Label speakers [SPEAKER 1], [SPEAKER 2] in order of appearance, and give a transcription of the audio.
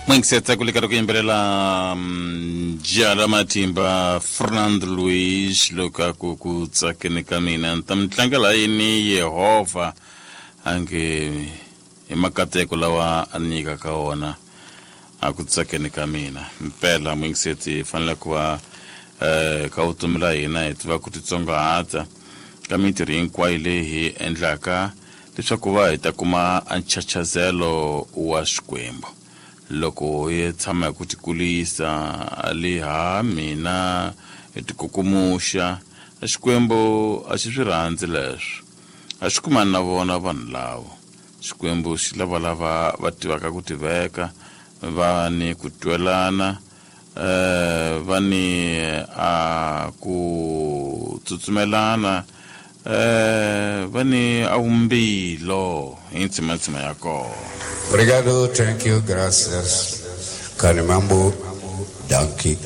[SPEAKER 1] N'wingisetsa ku lika ku yimbelela jala matimba Fernando Luis loko a ku ku tsakeni ka mina ni ta mi tlangela yini Yehovha a nge hi makateko lawa a ni nyikaka wona a ku tsakeni ka mina mpela n'wingiseti hi fanele ku va um ka vutomi la hina hi tiva ku titsongahata ka mintirho hinkwayo leyi hi endlaka leswaku va hi ta kuma a nchachazelo wa Xikwembu. Loko hi tshama hi ku tikulisa ali ha mina hi tikukumuxa, Xikwembu a xi swi rhandzi leswo. A xi kumani na vona vanhu lavo. Xikwembu xi lava lava va tivaka ku tiveka, va ni ku twelana, eh, va ni a ku tsutsumelana eh, va ni a vumbilo hi ntshimantsima ya kona.
[SPEAKER 2] Obrigado, thank you, gracias. Kanimambo, dankie.